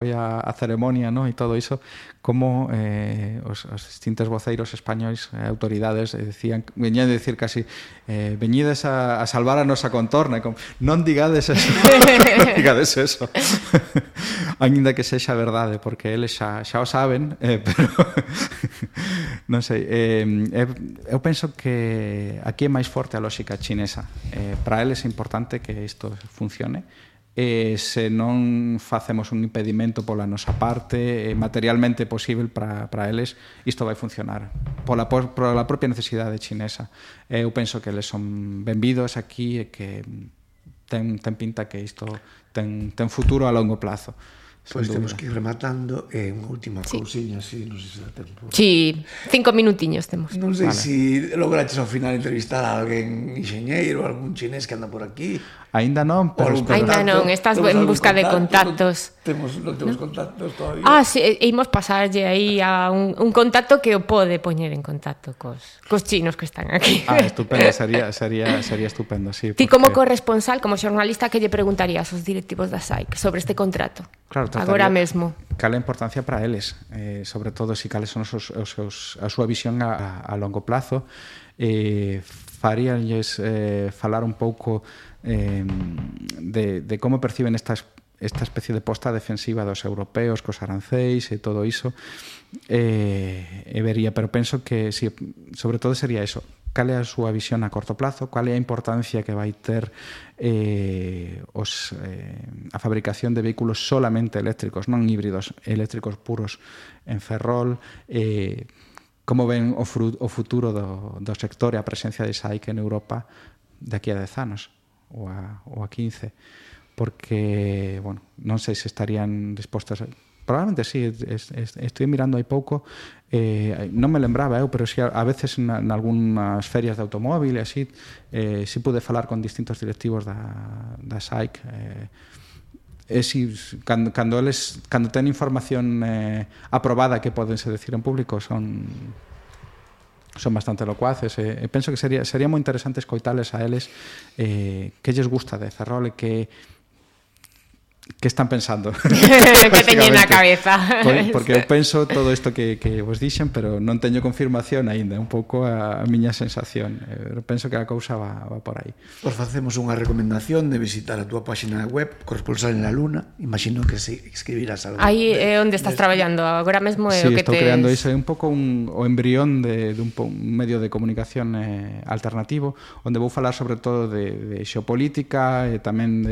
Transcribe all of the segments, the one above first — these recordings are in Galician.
a ceremonia, ¿no? E todo iso, como os distintos voceiros españois, autoridades, veñían a decir casi veñides a salvar a nosa contorna, como, non digades eso, non digades eso. Ainda que sexa verdade, porque eles xa o saben, pero non sei, eu penso que aquí é máis forte a lógica chinesa. Para eles é importante que isto funcione, se non facemos un impedimento pola nosa parte, materialmente posible para eles, isto vai funcionar pola propia necesidade chinesa. Eu penso que eles son benvidos aquí e que ten pinta que isto ten futuro a longo plazo. Pois temos que ir rematando. Unha última cousiña, así, non sei se dá tempo. Sí, 5 minutiños temos. Non sei se lograches ao final entrevistar a alguén enxeñeiro, algún chinés que anda por aquí. Ainda non, pero... Ainda non, estás en busca de contactos. Non temos contactos todavía. Sí, imos pasarlle aí a un contacto que o pode poñer en contacto cos chinos que están aquí. Estupendo, sería estupendo, sí. Ti como corresponsal, como xornalista, que lle preguntarías aos directivos da SAIC sobre este contrato? Claro, agora mesmo. Cal é a importancia para eles, sobre todo se cales son a súa visión a longo plazo. Faríanlles falar un pouco de como perciben esta especie de posta defensiva dos europeos cos arancéis e todo iso, vería, pero penso que sí, sobre todo sería eso, cal é a súa visión a corto plazo, cal é a importancia que vai ter a fabricación de vehículos solamente eléctricos, non híbridos, eléctricos puros en Ferrol, como ven o futuro do sector e a presencia de SAIC en Europa de aquí a 10 anos ou a 15, porque, bueno, non sei se estarían dispostos probablemente sí, estoy mirando hai pouco, non me lembraba pero si a veces en algunhas ferias de automóvil e así, si pude falar con distintos directivos da SAIC, cando ten información aprobada que podense decir en público son bastante locuaces, penso que sería moi interesante escoitales a eles que lles gusta de Ferrol e que están pensando que teñen na cabeza, porque eu penso todo isto que vos dixen, pero non teño confirmación aínda, un pouco a miña sensación, penso que a cousa va por aí. Os facemos unha recomendación de visitar a túa página web Corresponsal en la Luna, imagino que se escribirás algo aí é onde estás traballando agora mesmo, é o que estou creando iso, é un pouco o embrión de un medio de comunicación alternativo, onde vou falar sobre todo de xeopolítica e tamén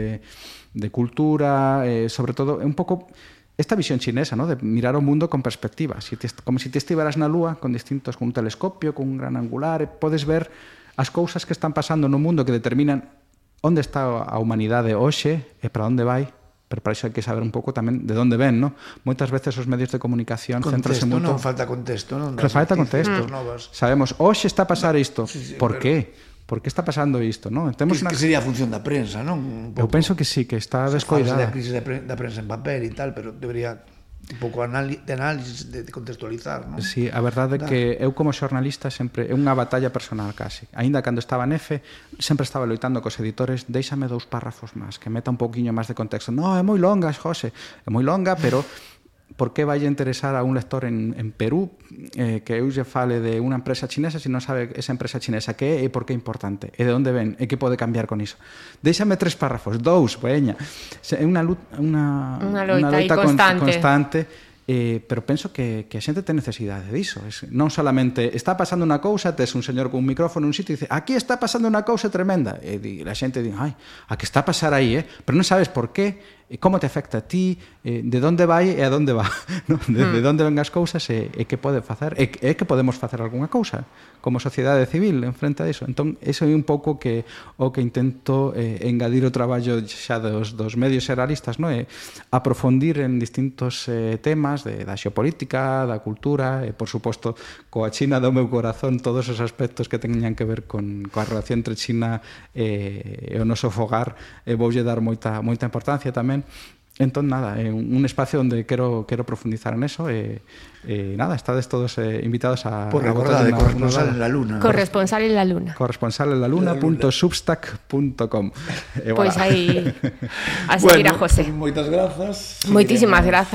de cultura, sobre todo un pouco esta visión chinesa, ¿no? De mirar o mundo con perspectiva, como se ti estiveras na Lúa con un telescopio, con un gran angular, podes ver as cousas que están pasando no mundo que determinan onde está a humanidade hoxe e para onde vai, pero para iso hai que saber un pouco tamén de onde ven, ¿no? Moitas veces os medios de comunicación centranse moito... Non falta contexto, non? Falta contexto. Sabemos, hoxe está a pasar isto, por qué? Por que está pasando isto, non? Que sería a función da prensa, non? Eu penso que sí, que está descoidada. A crise da prensa en papel e tal, pero debería un pouco de análisis, de contextualizar, non? Sí, a verdade é que eu como xornalista sempre é unha batalla personal casi. Aínda cando estaba en EFE, sempre estaba loitando cos editores, déixame 2 párrafos máis, que meta un pouquiño máis de contexto. Non, é moi longa, José, é moi longa, pero por que vai interesar a un lector en Perú que eu lle fale de unha empresa chinesa se non sabe esa empresa chinesa que é e por que é importante e de onde ven e que pode cambiar con iso? Déixame 3 párrafos, 2, veña. É unha loita constante, pero penso que a xente ten necesidade diso. Non solamente está pasando unha cousa, tes un señor con un micrófono en un sitio e dice, aquí está pasando unha cousa tremenda, e a xente di, ai, a que está a pasar aí, pero non sabes por qué, como te afecta a ti, de onde vai e a onde va, de onde ven as cousas e que pode facer, e que podemos facer algunha cousa como sociedade civil en frente a iso. Entón, iso é un pouco o que intento engadir o traballo xa dos medios xeralistas, non? Aprofundir en distintos temas da xeopolítica, da cultura e, por suposto, coa China do meu corazón, todos os aspectos que teñan que ver coa relación entre China e o noso fogar, voulle dar moita importancia tamén. Entón, nada, é un espacio onde quero profundizar en eso e nada, estades todos invitados a... Por recordar, de Corresponsal en la Luna. Corresponsal en la Luna. corresponsalenlaluna.substack.com. Pois aí a seguir a José. Moitas grazas. Moitísimas grazas.